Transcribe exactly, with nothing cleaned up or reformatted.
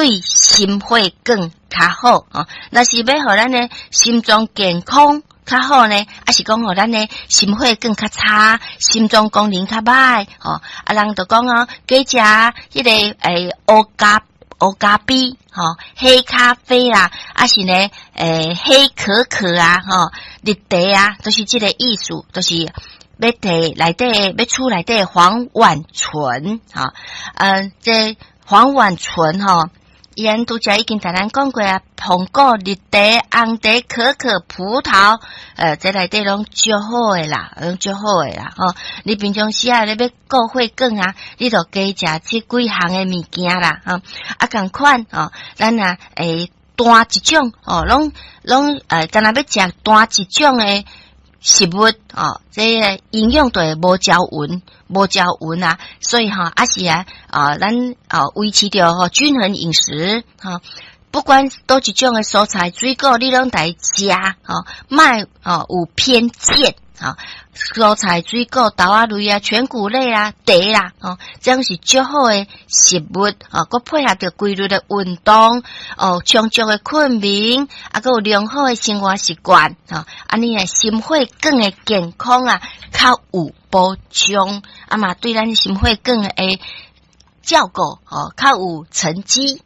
對心血管較好哦。若是欲予咱的心臟健康較好呢，抑是講予咱的心血管較差，心臟功能較䆀吼？啊，人就講哦，加食彼個欸烏咖烏咖啡吼，黑咖啡啊，抑是呢欸黑可可啊，吼，綠茶啊，都是這個意思，都是欲提內底欲出內底黃烷醇，吼，嗯，這黃烷醇吼，伊按拄才已經共咱講過啊，紅果、綠茶、紅茶、可可、葡萄，呃，這內底攏足好的啦，攏足好的啦，吼。你平常時啊，你欲顧血管啊，你就加食這幾項的物件啦，吼。啊，仝款吼，咱啊，會單一種哦，攏攏呃，干焦欲食單一種的食物哦，這個營養都會無均勻，無均勻啊，所以吼，抑是啊，啊，咱啊維持著吼均衡飲食，吼，不管佗一種的蔬菜水果，你攏來食，吼，莫吼有偏見，吼，蔬菜水果、豆仔類啊、全穀類啊、茶啦，吼，這樣是足好的食物，哦，閣配合著規律的運動，哦，充足的睏眠，啊，閣有良好的生活習慣，吼，按呢的心血管的健康啊，較有保障，啊嘛對咱心血管的照顧，吼，較有成績。